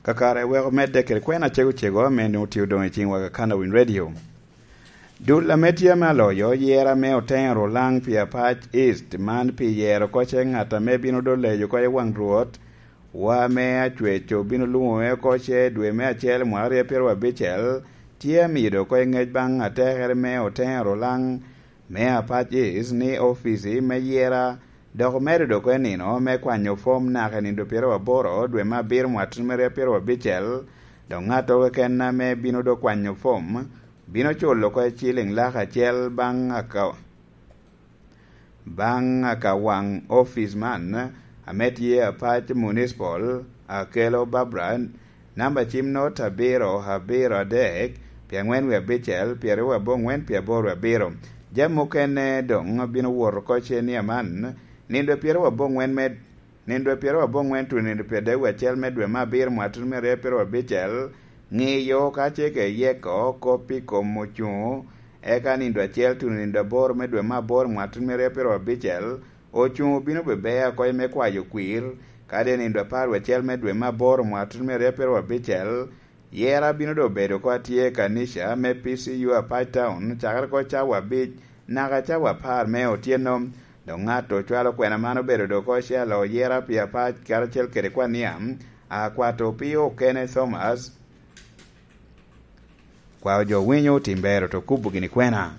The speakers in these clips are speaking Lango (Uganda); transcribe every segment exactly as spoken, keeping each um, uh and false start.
Kakare wek omedde kede kwena cego cego ame nwoŋo tye odoŋ i ciŋwa ka Kanowin Radio. Dul ame tye ame aloyo yera me Oteŋo Rulaŋ pi Apac East, man pi yero oko ce ŋat ame bino doŋ leyo oko i waŋ Rwot, wa me acweco bino luŋo oko ce dwe me acel mwaka aryo pyeraryo abicel, tye amido oko i ŋec baŋ atekere me Oteŋo Rulaŋ me Apac East ni ofici me yera dok omedo doko i nino me kwanyo fom naka i nino pyeraryo aboro dwe me abiro mwaka me aryo pyeraryo abicel, dok ŋat keken ame bino dok kwanyo fom bino culo oko ciling lak acel baŋ aka-, baŋ aka waŋ ofic man ame tye Apac Municipal, Akello Barbara, namba cim not abiro abiro adek, pi aŋwen wie abicel, pyeraryo aboŋwen, pi aboro abiro. Jami mukene doŋ bino wot oko cenia man, nino pyeraryo aboŋwen me, nino pyeraryo aboŋwen tuno nino pyeradek wie acel me dwe me abiro mwaka tuno me aryo pyeraryo abicel, ŋiyo ka ce ke yeko kop i kom ocuŋo, eka nino acel tuno nino aboro me dwe me aboro mwaka tuno me aryo pyeraryo abicel, ocuŋo bino bebe oko me kwayo kwir, kadi nino apar wie acel me dwe me aboro mwaka tuno me aryo pyeraryo abicel, yera bino doŋ bedo oko atye i kanica me P C U Apac Town, cakere oko cawa abic naka cawa apar me otyeno. Dok ŋat ocwalo kwena man obedo doŋ oko ocalo yera pi Apac karacel kede kwan Niam, akwato pi okene Thomas. Kwao jo winyo otim bero to kubo gini kwena.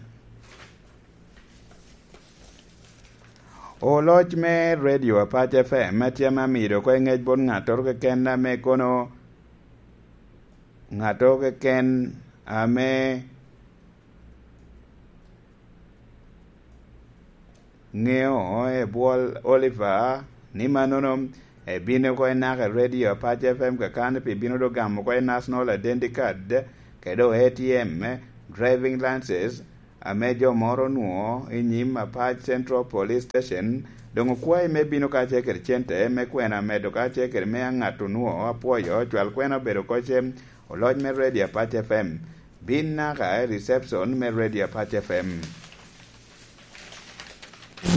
Oloc me Radio Apac F M tye ame amido oko i ŋec bot ŋattoro keken ame kono, ŋattoro keken ame ŋeo ebwol Oliver ni mannono ebino oko i naka i Radio Apac F M kakan, pi bino doŋ gamo oko i National Identity Card, kede o A T M, driving license, ame jo moro onwoŋo i nyim Apac Central Police Station, doŋ okwayi me bino kacel kede cente me kwena medo kacel kede me aŋat onwoŋo apwoyo, cwal kwena obedo oko ce, oloc me Radio Apac F M. Bin naka i reception me Radio Apac F M.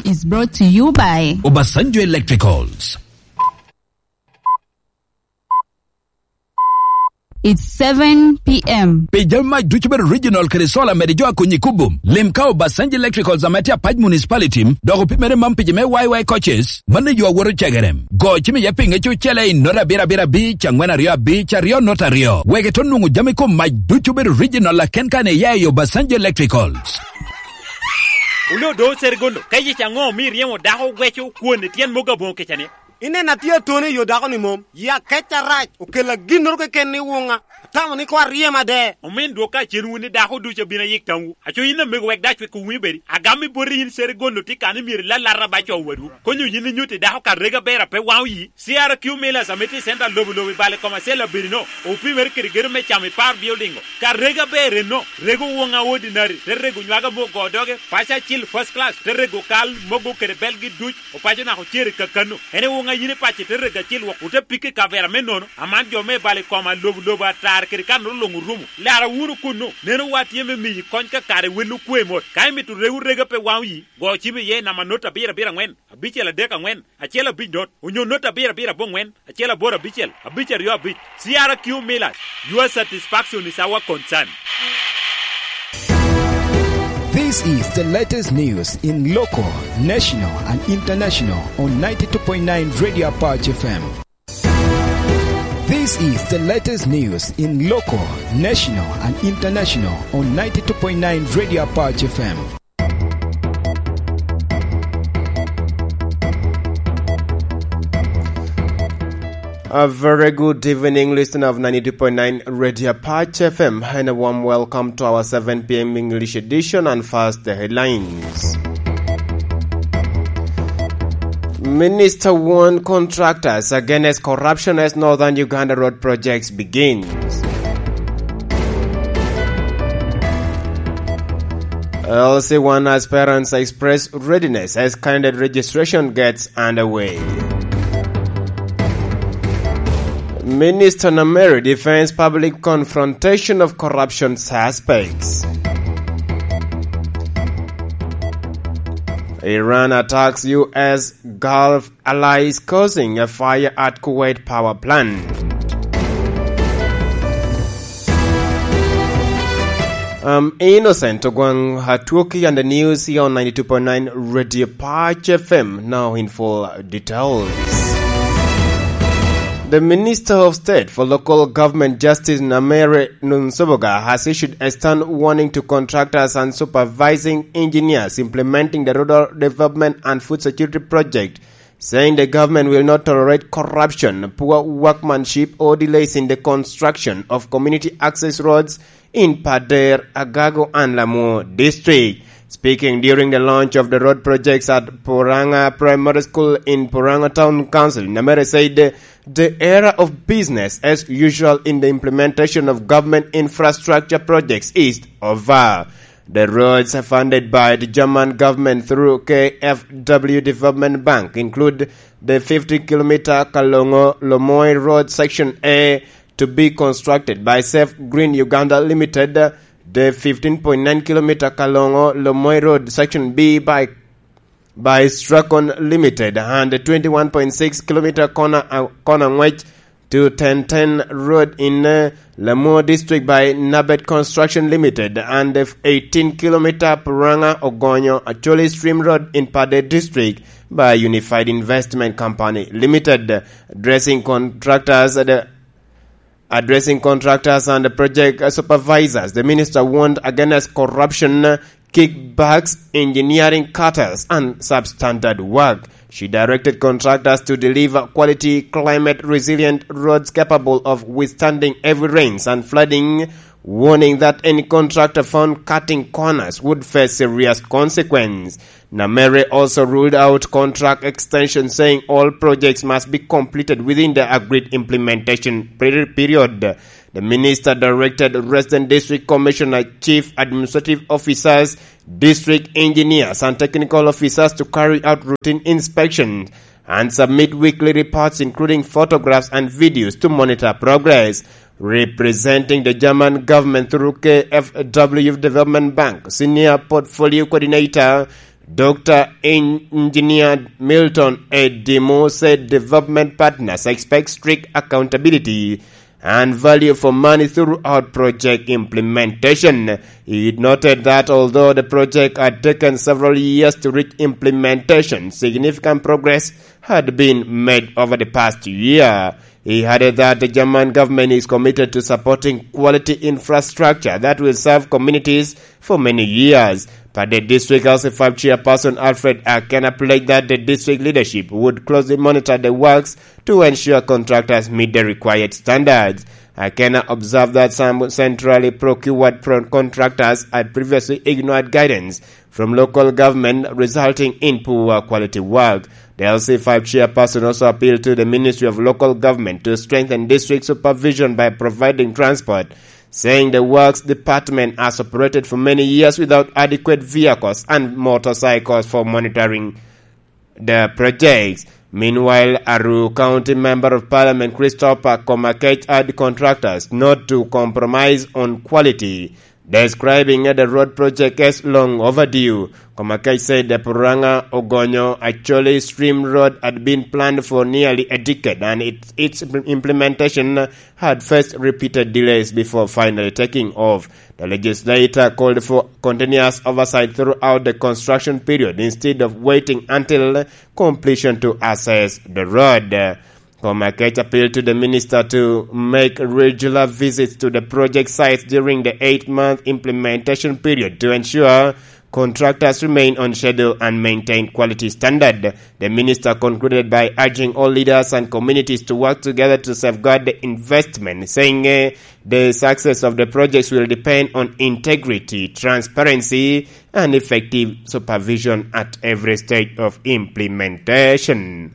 Is brought to you by Obasanjo Electricals. It's seven p.m. Pi jami mac ducu bedo original kede solar mede jo akonyi kubo. Lim ka Obasanjo Electricals ame tye Apac Municipality, dok opimere mam pigi me Y Y coaches, mano yo awoto cegere. Go cim iye pinge cucele i not abiro abiro abic, angwen aryo abic, aryo not aryo. Wek ito nwoŋo jami kom mac ducu bedo original aken kan iya i Obasanjo Electricals. Wule odo Sergondo, ka yic aŋo omi iryemo dako gweco kwon i tyen mogo aboŋo kica ni? Ineno atye atoni i yo dako-ni mom. Yi akec arac okella ginnoro keken i wuŋa. Atamo ni koŋ aryem ade. Omin dwok ka cen wun ni dako ducu abino ayik tamwu. Aco yin amego wek dac wek owinyo bedi. Agam i boti yin Sergondo tye kan ni myero ilalata ba co wadwu. Konyo yin inyutti dako ka rega ber a pe waŋo yi. C R Q Millers ame tye i center lobo lobo i bal i kom acel abirino, opimere kede gedo me camo i par building-o. Ka rega ber enno, rego woŋa ordinary, te rego nywaga me ogo doge, paco acil first class, te rego kal, mogo kede belgi duc, opaco naka ocere kakano. En i woŋa yin ipaco te rego acil wok, ote pike i kavera me nono, aman jo me bal i koma lobo lobo atar kede kanoro luŋ orumo. Lara wunu kunnu, neno wa tye me miyi kony ka kare wel okwe mot. Ka imito rego rega pe waŋo yi, go cim iye i namba not abiro abiro aŋwen, abicel adek aŋwen, acel abic not, onyo not abiro abiro aboŋwen, acel aboro abicel, abic aryo abic. C R Q Millers, your satisfaction is our concern. This is the latest news in local, national, and international on ninety-two point nine Radio Apache F M. This is the latest news in local, national, and international on ninety-two point nine Radio Apache F M. A very good evening, listener of ninety-two point nine Radio Apache F M, and a warm welcome to our seven p.m. English edition. And first, the headlines. Minister warn contractors against corruption as Northern Uganda road projects begins. L C one aspirants express readiness as candidate registration gets underway. Minister Nameri defends public confrontation of corruption suspects. Iran attacks U S Gulf allies causing a fire at Kuwait power plant. I'm Innocent Ogwang, Atwoki, and the news here on ninety-two point nine Radio Patch F M. Now in full details. The Minister of State for Local Government, Justice Namere Nunsubuga, has issued a stern warning to contractors and supervising engineers implementing the Rural Development and Food Security Project, saying the government will not tolerate corruption, poor workmanship, or delays in the construction of community access roads in Pader, Agago, and Lamwo District. Speaking during the launch of the road projects at Puranga Primary School in Puranga Town Council, Namere said the era of business as usual in the implementation of government infrastructure projects is over. The roads funded by the German government through K F W Development Bank include the fifty kilometer Kalongo Lomoi Road Section A to be constructed by Safe Green Uganda Limited, the fifteen point nine kilometer Kalongo Lomoi Road Section B by, by Stracon Limited, and the twenty-one point six kilometer corner, uh, corner Ngwech to Tenten Road in, uh, Lamwo District by Nabet Construction Limited, and the eighteen kilometer Puranga Ogonyo Acholi Stream Road in Pader District by Unified Investment Company Limited. Addressing contractors, uh, the, addressing contractors and the project supervisors, the minister warned against corruption, kickbacks, engineering cartels, and substandard work. She directed contractors to deliver quality, climate-resilient roads capable of withstanding heavy rains and flooding, warning that any contractor found cutting corners would face serious consequence. Namere also ruled out contract extension, saying all projects must be completed within the agreed implementation peri-, period. The minister directed resident district commissioner, chief administrative officers, district engineers, and technical officers to carry out routine inspections and submit weekly reports, including photographs and videos, to monitor progress. Representing the German government through K F W Development Bank, Senior Portfolio Coordinator, Doctor En-, Engineer Milton Edimo said development partners expect strict accountability and value for money throughout project implementation. He noted that although the project had taken several years to reach implementation, significant progress had been made over the past year. He added that the German government is committed to supporting quality infrastructure that will serve communities for many years. But the district L C five chairperson Alfred Akena pledged that the district leadership would closely monitor the works to ensure contractors meet the required standards. Akena observed that some centrally procured pro-, contractors had previously ignored guidance from local government, resulting in poor quality work. The L C five chairperson also appealed to the Ministry of Local Government to strengthen district supervision by providing transport, saying the Works Department has operated for many years without adequate vehicles and motorcycles for monitoring the projects. Meanwhile, Aru County Member of Parliament Christopher Komakech urged contractors not to compromise on quality, describing the road project as long overdue. Komakech said the Puranga Ogonyo Acholi Stream Road had been planned for nearly a decade, and it, its implementation had faced repeated delays before finally taking off. The legislator called for continuous oversight throughout the construction period instead of waiting until completion to assess the road. Komakech appealed to the minister to make regular visits to the project sites during the eight-month implementation period to ensure contractors remain on schedule and maintain quality standard. The minister concluded by urging all leaders and communities to work together to safeguard the investment, saying, eh, the success of the projects will depend on integrity, transparency, and effective supervision at every stage of implementation.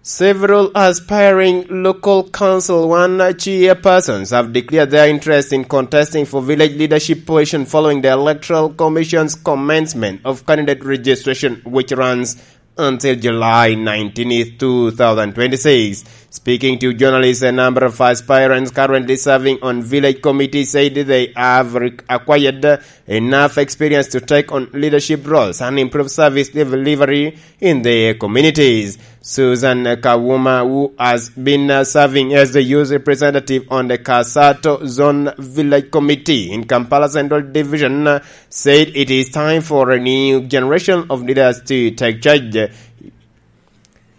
Several aspiring local council one chairpersons have declared their interest in contesting for village leadership position following the Electoral Commission's commencement of candidate registration, which runs until July nineteenth, two thousand twenty-six. Speaking to journalists, a number of aspirants currently serving on village committees said they have re-, acquired enough experience to take on leadership roles and improve service delivery in their communities. Susan Kawuma, who has been uh, serving as the youth representative on the Kasato Zone Village Committee in Kampala Central Division, uh, said it is time for a new generation of leaders to take charge.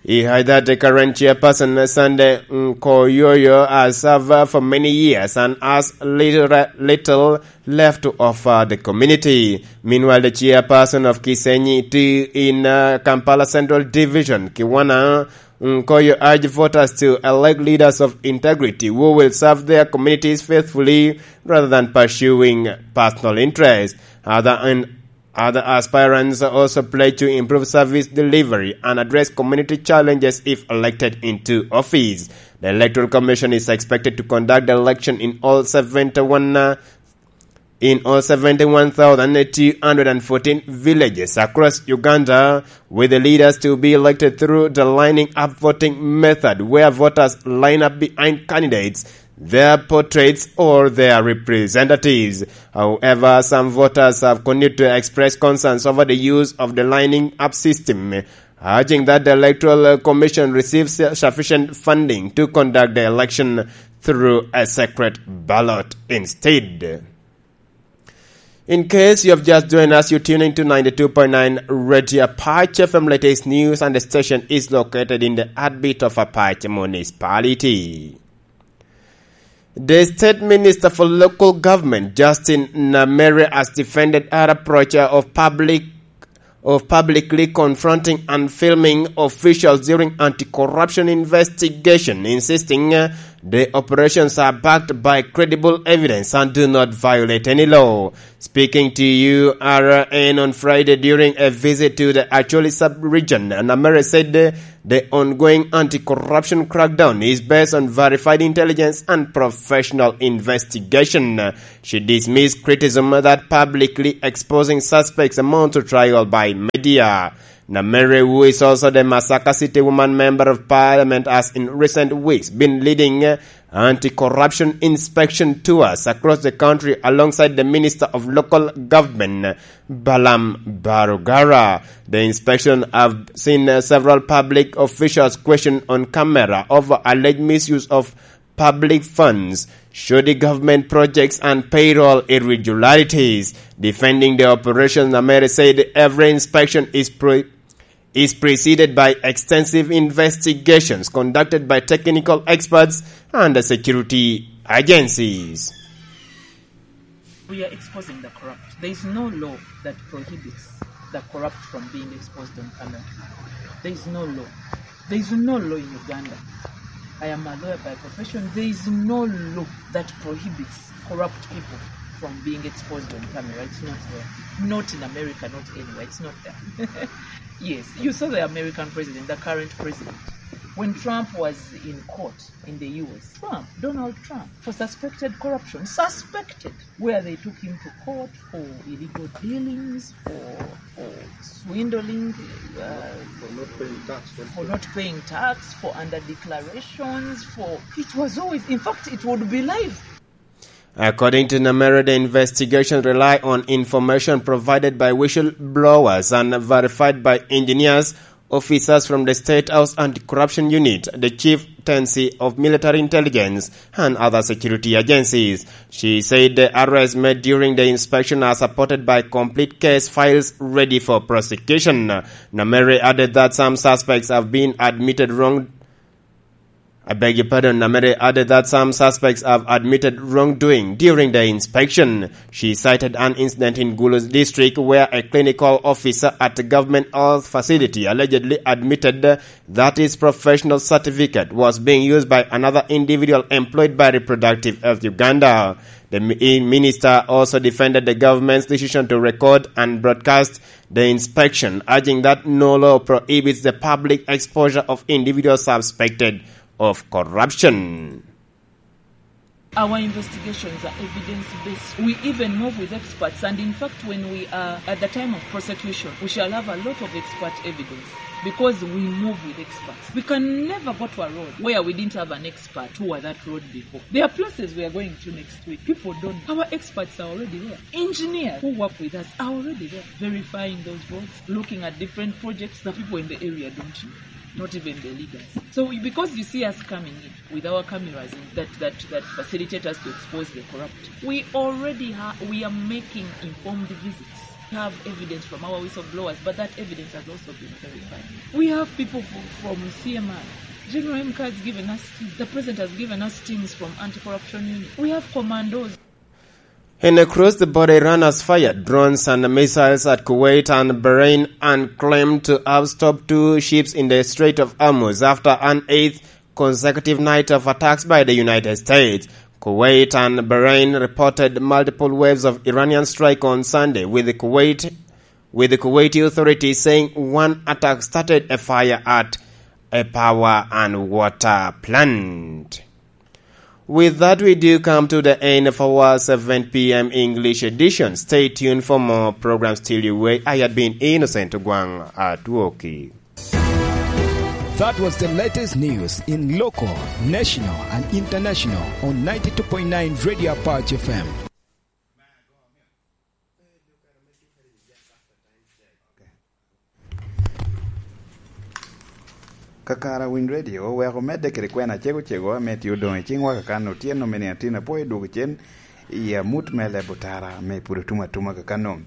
He highlighted that the current chairperson, Sunday Nkoyoyo, has served uh, for many years and has little, little left to offer the community. Meanwhile, the chairperson of Kisenyi two in uh, Kampala Central Division, Kiwana Nkoyo, urged voters to elect leaders of integrity who will serve their communities faithfully rather than pursuing personal interests. Other, and other aspirants also pledged to improve service delivery and address community challenges if elected into office. The Electoral Commission is expected to conduct the election in all seventy-one uh, in all seventy-one thousand two hundred fourteen villages across Uganda, with the leaders to be elected through the lining up voting method, where voters line up behind candidates, their portraits, or their representatives. However, some voters have continued to express concerns over the use of the lining up system, urging that the Electoral Commission receives sufficient funding to conduct the election through a secret ballot instead. In case you have just joined us, you're tuning to ninety-two point nine Radio Apache F M. Latest news, and the station is located in the heartbeat of Apache Municipality. The State Minister for Local Government, Justin Namere, has defended her approach of public of publicly confronting and filming officials during anti-corruption investigation, insisting uh, the operations are backed by credible evidence and do not violate any law. Speaking to U R N on Friday during a visit to the Acholi sub-region, Namere said uh, the ongoing anti-corruption crackdown is based on verified intelligence and professional investigation. She dismissed criticism that publicly exposing suspects amount to trial by media. Namere, who is also the Masaka City Woman Member of Parliament, has in recent weeks been leading uh, anti-corruption inspection tours across the country alongside the Minister of Local Government, Balam Barugara. The inspection have seen uh, several public officials questioned on camera over alleged misuse of public funds, shoddy government projects, and payroll irregularities. Defending the operation, Namere said every inspection is pre- is preceded by extensive investigations conducted by technical experts and the security agencies. We are exposing the corrupt. There is no law that prohibits the corrupt from being exposed on camera. There is no law. There is no law in Uganda. I am a lawyer by profession. There is no law that prohibits corrupt people from being exposed on camera. It's not there. Not in America, not anywhere. It's not there. Yes, you saw the American president, the current president. When Trump was in court in the U S, Trump, Donald Trump, for suspected corruption, suspected, where they took him to court for illegal dealings, for, for swindling, uh, for not paying tax, for not paying tax, for under declarations, for, it was always, in fact, it would be live. According to Namere, the investigation rely on information provided by whistleblowers and verified by engineers, officers from the State House Anti-Corruption Unit, the Chieftaincy of Military Intelligence, and other security agencies. She said the arrests made during the inspection are supported by complete case files ready for prosecution. Namere added that some suspects have been admitted wrong I beg your pardon, Namere added that some suspects have admitted wrongdoing during the inspection. She cited an incident in Gulu's district where a clinical officer at a government health facility allegedly admitted that his professional certificate was being used by another individual employed by Reproductive Health Uganda. The mi-, minister also defended the government's decision to record and broadcast the inspection, urging that no law prohibits the public exposure of individuals suspected of corruption. Our investigations are evidence-based. We even move with experts, and in fact, when we are at the time of prosecution, we shall have a lot of expert evidence because we move with experts. We can never go to a road where we didn't have an expert who were that road before. There are places we are going to next week. People don't. Our experts are already there. Engineers who work with us are already there, verifying those roads, looking at different projects that people in the area don't know. Not even the leaders. So we, because you see us coming in with our cameras in that, that, that facilitate us to expose the corrupt, we already ha- we are making informed visits. We have evidence from our whistleblowers, but that evidence has also been verified. We have people from, from C M I. General M K has given us, the president has given us teams from anti-corruption unit. We have commandos. In a cross-the-border, Iran has fired drones and missiles at Kuwait and Bahrain and claimed to have stopped two ships in the Strait of Hormuz after an eighth consecutive night of attacks by the United States. Kuwait and Bahrain reported multiple waves of Iranian strike on Sunday, with the Kuwait with the Kuwaiti authorities saying one attack started a fire at a power and water plant. With that, we do come to the end of our seven p.m. English edition. Stay tuned for more programs till you way. I had been Innocent Gwang Atwoki. That was the latest news in local, national, and international on ninety-two point nine Radio Apache F M. Kakara Winy Radio oweko medde kede kwena acego cego ame tye odoŋ i ciŋwa kakan otyeno me niatin apwoyo dwogo cen i amut me leb otara ame pud otum atuma kakano.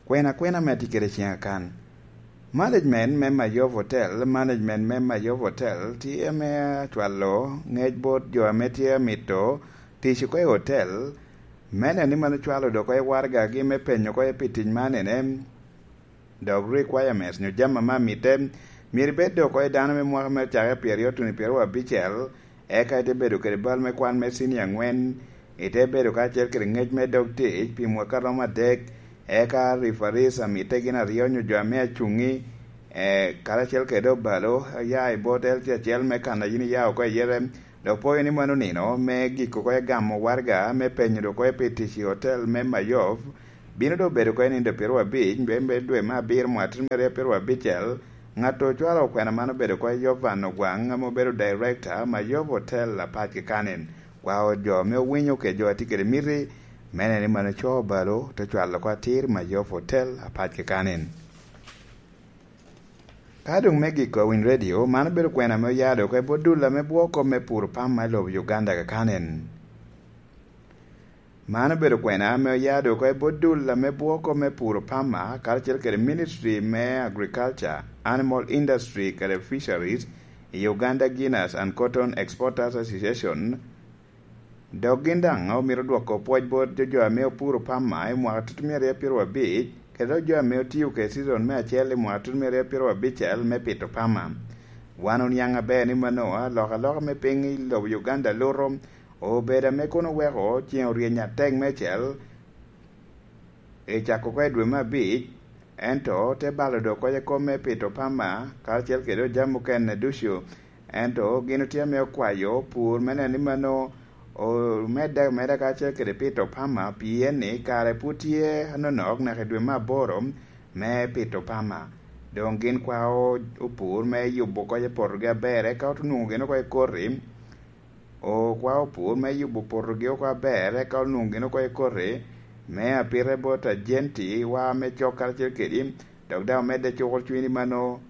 Kwena kwena ame atye kede ciŋ akan. Management me Mayov Hotel, management me Mayov Hotel tye ame acwalo ŋec bot jo ame tye amito tic oko i hotel, me neno ni mano cwalo dok oko i waragagi me penyo oko pi tic man ene. Dok requirements nyo jami ame amitte, myero ibed dok oko i dano me mwaka me cake pyeraryo tuno i pyeraryo abicel, eka ite bedo kede bal me kwan me cinia aŋwen, ite bedo kacel kede ŋec me dog tic pi mwaka romo adek, eka referees amitte gin aryo nyo jo ame acuŋi, eh, karacel kede obalo, ya i bot L C acel me kan a yin iya oko iye. Dok pwoyo ni mano nino me giko oko i gamo waraga me penyo dok oko pi tic i hotel me Mayov, bino dok bedo oko i nindo pyeraryo abic me, me dwe me abiro mwaka tuno me aryo pyeraryo abicel. Ŋat ocwalo okwena man obedo oko Yovan Ogwaŋ ame obedo director Mayov Hotel Apac Kikanen. Kwao jo ame owinyo kede jo a tye kede miti me neno ni mano co obalo te cwalo oko atir Mayov Hotel Apac Kikanen. Ka doŋ me giko Winy Radio, man obedo kwena ame oya dok oko i bot dul ame bwoko me puro pama i lobo Uganda kakanen. Man obedo kwena ame oya dok oko i bot dul ame bwoko me puro pama karacel kede Ministry me Agriculture, Animal Industry kede Fisheries i Uganda Guinness and Cotton Exporters Association. Dok gin daŋ omito dwoko pwoc bot jo ame opuro pama i mwaka tutumia aryo pyeraryo abic, kede dok jo ame otio kede cizon me acel i mwaka tutumia aryo pyeraryo abicel me pito pama. Wan oniaŋ aber ni mano alokaloka me piny i lobo Uganda luto obedo ame kono oweko ceŋ oryeny atek meicel i cako oko i dwe me abic, ento te balo dok oko i kom me pito pama karacel kede jami mukene ducu. Ento gin otye ame okwayo pur me neno ni mano omedde ameda kacel kede pito pama, pien ni kare pud tye anonok naka i dwe me aboro me pito pama. Doŋ gin kwao opur me yubo oko i potogi aber, eka onwoŋo gin oko i koti. Okwao opur me yubo potogi oko aber, eka onwoŋo gin oko i koti me apite bot ajenti wa me cok karacel kedi, dok daŋ omedde cuko cwiny ni mano.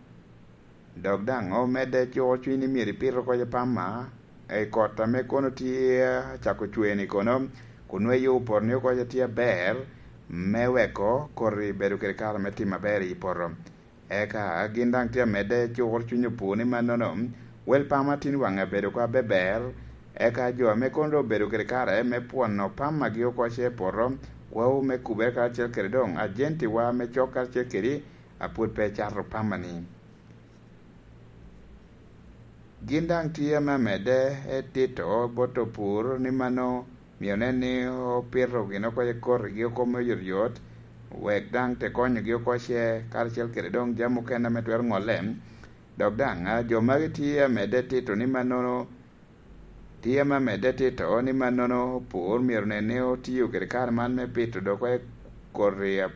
Dok daŋ omedde cuko cwiny ni myero ipit oko i pama i kot ame kono tye acako cwer-ni kono, kun nwoŋo iyubo poto-ni oko tye aber, me weko koti bedo kede kare me timo aber i poto. Eka gin daŋ tye amedde cuko cwiny opur ni mannono, wel pama tin waŋe abedo oko abeber, eka jo ame kono doŋ obedo kede kare me pwono pamagi oko ce i poto, kwao me kubere karacel kede doŋ ajentiwa me cok karacel kedi a pwod pe ecato pama-ni. Gin daŋ tye ame amedde etito bot opur ni mano myero onen ni opito gin oko i kotigi oko me oyotoyot, wek daŋ te konyogi oko ce karacel kede doŋ jami mukene ame twero ŋolle. Dok daŋ, a, jo magi tye amedde tito ni mannono, tye ame amedde tito ni mannono opur myero onen ni otio kede kare man me pito dok oko i koti a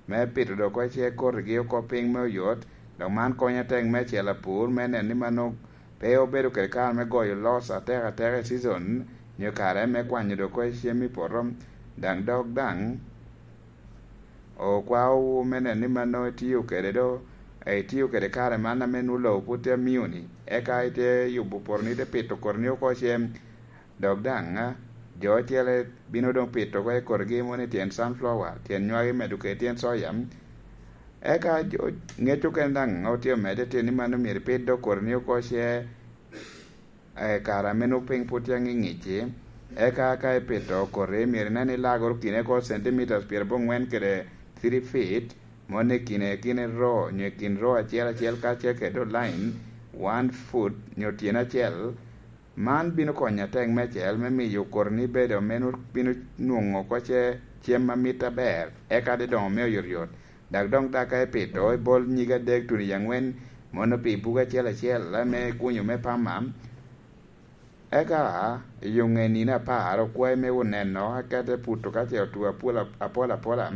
me pito dok oko ce kotigi oko piny me oyot, dok man konyo atek me acel apur me neno ni mano pe obedo kede kare me goyo loss atek atek i season, nyo kare me kwanyo dok oko cem i poto, daŋ dok daŋ okwao me neno ni mano itiyo kede do Itio kede kare man ame nwoŋo lobo pwod tye amio-ni, eka ite yubo poto-ni, ite pito koti-ni oko ce, dok daŋ, a, jo ocele bino doŋ pito oko i koti-gi, moni tyen sunflower, tyen nywagi, medo kede tyen soya. Eka jo, ŋec okene daŋ otye omedde tyen ni mano myero ipit dok koti-ni oko ce, e kare ame nwoŋo piny pwod tye aŋiŋic-ci, eka ka ipito koti, myero inen ni ilagoro kine oko centimeters pyerabongwen kede three feet, moni i kine, kine ro, nyo i kin ro acel acel kacel kede line, one foot, nyo tyen acel. Man bino konyo atek meicel me miyo koti-ni bedo ame nwoŋo bino nwoŋo oko ce cem ma mit aber, eka te doŋo me oyotyot. Dok doŋ daka ipito, ibol nyig adek tuno i aŋwen, mono pi bugo acel acel, ame ikunyo me pama. Eka, i yo ŋe nino apar, okwayi me wot neno, eka te puto ka ce otwo apol, apol apola,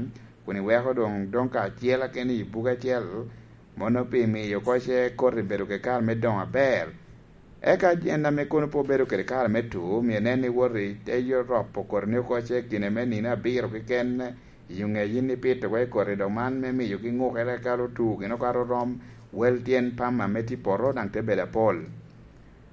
kun iweko doŋ, doŋ kacel keken i bugo acel, mono pi miyo oko ce koti bedo kede kare me doŋo aber. Eka en ame kono pe obedo kede kare me tu, myero inen ni wot i te yo ropo koti-ni oko ce i kine me nino abiro keken, i yo ŋe yin ipito oko i koti, dok man me miyogi ŋukere eka otu gin okato rom, wel tyen pama ame tye i poto daŋ te bedo apol.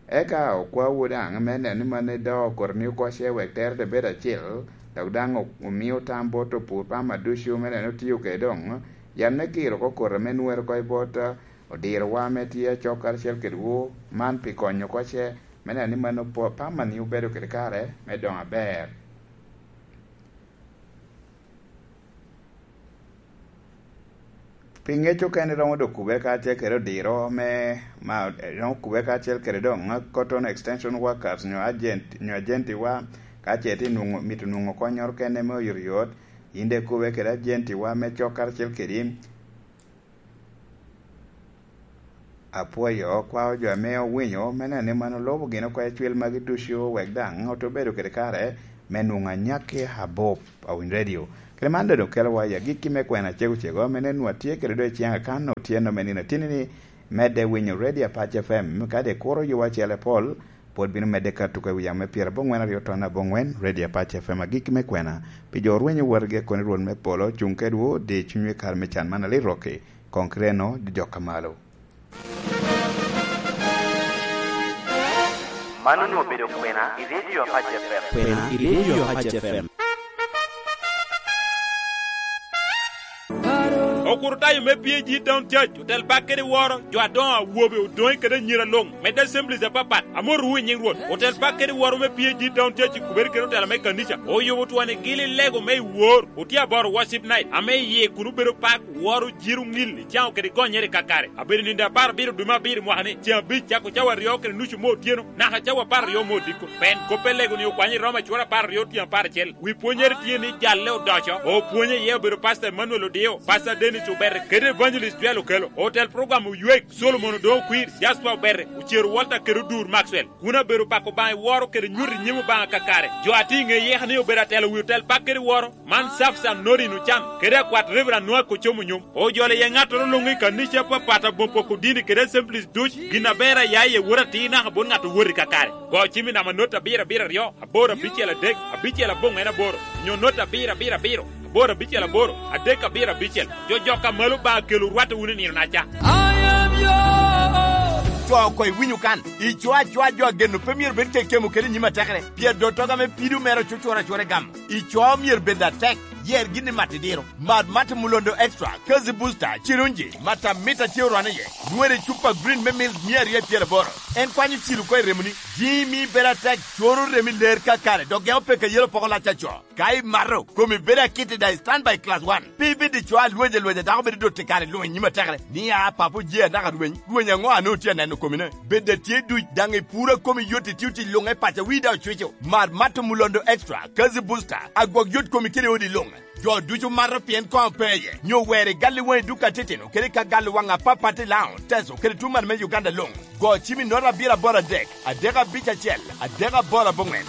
Eka okwawu daŋ me neno ni mano ido koti-ni oko ce wek tere te bedo acil, dok daŋ o-, omio tam bot opur pama ducu me neno ni otio kede doŋ yat me kiro oko koti ame nwero oko i bot, a, odirowa ame tye acok karacel kedwu, man pi konyo oko ce me neno ni mano po-, pama-ni obedo kede kare me doŋo aber. Pi ŋec okene romo dok kubere kacel kede odiro me, ma, romo kubere kacel kede doŋ Cotton Extension Workers nyo agent, nyo agentiwa, ka ce itye nwoŋo, mito nwoŋo konnyoro kene me oyotoyot, yin daŋ ikube kede agentiwa me cok karacel kedi. Apwoyo, okwao jo ame owinyo, me neno ni man olubo gin oko ecwil magi ducu, wek daŋ ote bedo kede kare me nwoŋo anyakki abup. Awiny Radio. Kede man doŋ okelowa i agikki me kwena cego cego, ame nen nwa tye kede doŋ i ciŋ akan otyeno me nino atini-ni, medde winyo Radio Apac F M, kadi ikuro yowa acel apol, pwod bino medde ka tuko i wi yamo me pyerabongwen aryo ton abongwen, Radio Apac F M, agikki me kwena. Pi jo orwenyo wotgi, akoni Rwot me polo cuŋ kedwu, di cunywu i kare me can man alit rokki. Koŋ kite eno, jo jok a malo. Man onwoŋo obedo kwena i Radio Apac F M. Kwena i Radio Apac F M. Okurutayo me P A G Town Church, otel bak kede woro, jo adoŋo, awobe, odoŋe kede anyira luŋ, medde assemblies apapat, amotowu i nyiŋ Rwot. Otel bak kede woro me P A G Town Church i kubere kede otela me kanica, oyubo twoni gili lego me i wor, otye aboro worship night, ame iye kun obedo pak, woro, jiro, ŋil, icaŋo kede gonyere kakare. Abedo nindo apar abiro dwe me abiro mwaka-ni, ceŋ abic, cako cawa aryo kede nucu me otyeno, naka cawa apar aryo me odiko. Pien kop pe lego-ni okwanyo i Roma cura apar aryo tyen apar acel. Wi pwonyere tye ni jalle odoco, opwonye iye obedo Pastor Emmanuel Odio, Pastor Dennis Obere, kede Evangelist Joel Okello. Otel program Oywek, Solomon Odongo Kwir, Jasper Obere, Ocero Walter kede Odur Maxwell. Kun abedo pako Obaŋa i woro kede nyuto i nyim Obaŋa kakare. Jo a tye i ŋe yeka ni obedo atelo wi otel bak kede woro, man Safsan Norin Ocan, kede akwat Reverend Noah Kocom Onyom. Ojolo iye ŋattoro luŋ i kanica apapat, aboŋ poko dini kede assemblies duc, gin aber a ya iye wot atir naka bot ŋat owot i kakare. Go cim i namba not abiro abiro aryo, aboro abicel adek, abicel aboŋwen aboro, nyo not abiro abiro abiro, aboro abicel aboro, adek abiro abicel. Jo jok a malo ba kelo rwatte wunu i nino-na ca. I am yours. Co oko iwinyo kan. Ico acoa jo ageno pe myero bed kekemo kede i nyim atekere. Pien dottoga me pido mere ocucura acura i gamo. Ico myero bed atek. Yer gin i mat idiro. Mat mat Mulondo Extra, Kazi Booster, Cirunji, mat amit a tye orwane iye. Nwere i cupa green me mil mia aryo pyeraboro. En kwanyo cilo oko i remoni. Jimi bedo atek, coro remi ler kakare, dok gemo peke yelo poko lac aco. Ka imato, komi bedo akit i daŋ i standby class one. Pe ibed i co a lweny alwenya dako bedo dot i kare luŋ i nyim atekere. Ni a papo je anaka rweny, rweny aŋo a nwoŋo tye aneno komine? Bed atye duc daŋ i puro a komi yot i tio tic luŋ e paco wi daŋ ocwico. Mar mato Mulondo Extra, Kazi Booster, agwok yot komi kede odi luŋ. Jo ducu mato pien koŋ pe iye. Nyo wer i gal i waŋi duk atitino kede ka gal i waŋ apapat i Laŋo, Teso kede tuŋ malo me Uganda luŋ. Go cim i nota abiro aboro adek, adek abic acel, adek aboro aboŋwen.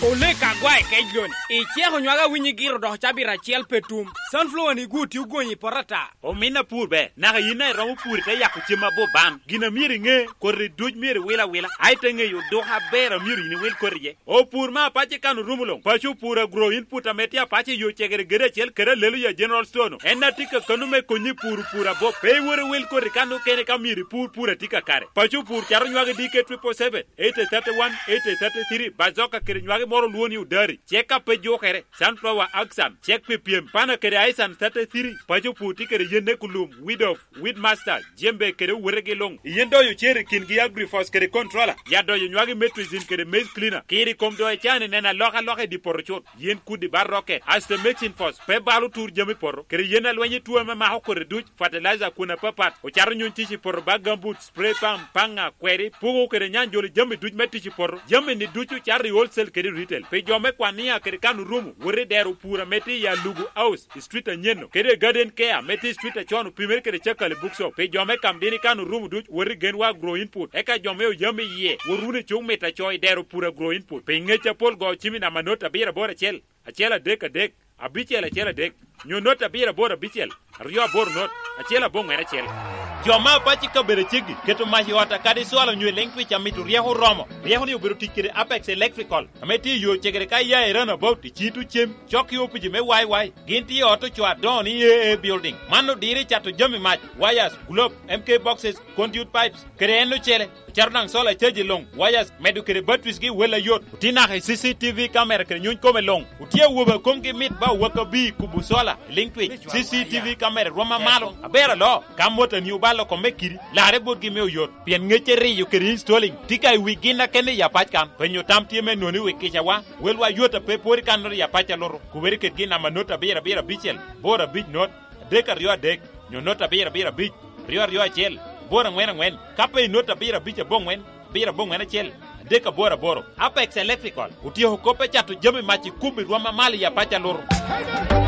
Olek agwa i kec loni. Iceko nywag awinyi giro dok cabit acel pe tum. Sunflower-ni gwo tye ogony i poto ata. Omin apur ber, naka yin a iromo pur ite yako cem aboban. Gin a myero iŋe, koti duc myero iwil awila, a ite ŋeyo odoko aber a myero yin iwil koti iye. Opur me apac i kan orumo luŋ, paco opur agro input ame tye apac i yo cegere gede acel kede alelo ya General Store-nu. En a tye kakano me konyi i pur opur abop. Pe iwot iwil koti kan okene ka myero ipur pur a tye kakare. Paco opur cato nywagi D K triple seven, eighty thirty-one, eighty thirty-three, bazoka kede nywagi moro olwo ni odari. Cek a pe jukere, sunflower, axan, cek pi pyem, pana kede aisan thirty-three, paco pur tye kede yen ne kulum, weed of, weed master, jembe kede owotegi luŋ. Yen doyo cer i kingi agrifos kede controller, ya doyo nywagi metrizin kede maize cleaner. Kiri kom doyo cani neno alokaloka i di poto cut, yen kudi ba roke, aste mixing fos, pe balo tur jami poto, kede yen alweny i tuo ame mako kodi duc, fertilizer kun apapat, ocato nyuny tic i poto ba gambut, spray pump, paŋa, kweri, puko kede nyanjolo jami duc me tic i poto. Jami-ni ducu cato i wholesale kede retail. Pi jo me Kwania kede kan orumo, wot i dero pur ame tye i Alugu House, i street anyen-nu, kede i Garden Care ame tye i street acon opimere kede Cakali Bookshop. Pi jo me Kamdini kan orumo duc, wot i Genwa Agro Input. Eka jo me Oyam iye, wot wunu i cuk mito aco i dero pur Agro Input. Pi ngec apol go cim i namba not abiro aboro acel, acel adek adek, abicel acel adek, nyo not abiro aboro abicel, aryo aboro not, acel aboŋwen acel. Jo me apac i kabedo ceggi keto mac i ot akadi cwalo nyo i leŋ twic amito ryeko oromo. Ryeko-ni obedo tic kede Apex Electrical, ame tye i yo cegere ka iya i Runabout i Cito Cem, cok i opici me Y Y. Gin tye i ot ocoo adoŋo ni A A Building. Man odiro i cato jami mac, wires, globe, M K boxes, conduit pipes, kede en ocele. Ocato daŋ solar charge luŋ, wires, medo kede batteries gi wel ayot. Otye naka i C C T V camera kede nyuny kome luŋ. Otye awobe a komgi mit ba owaka bi kubo solar, liŋ twic. C C T V camera rwom amalo. Aber alo, ka motani obalo kome kidi, larre botgi me oyot. Pien ŋecce riyo kede installing tye ka i wi gin a kende i apac kan. Penyo tam tye me noni wi kicawa. Welwa yot a pe pwod i kan noti i apac a luto. Kubere kede gin namba not abiro abiro abicel, boro abic not, adek aryo adek, nyo not abiro abiro abic, aryo aryo acel, boro aŋwen aŋwen, ka pe i not abiro abic aboŋwen, abiro aboŋwen acel, adek aboro aboro. Apex Electrical otyeko kop me cato jami mac i kubi rwom amalo i apac a luto.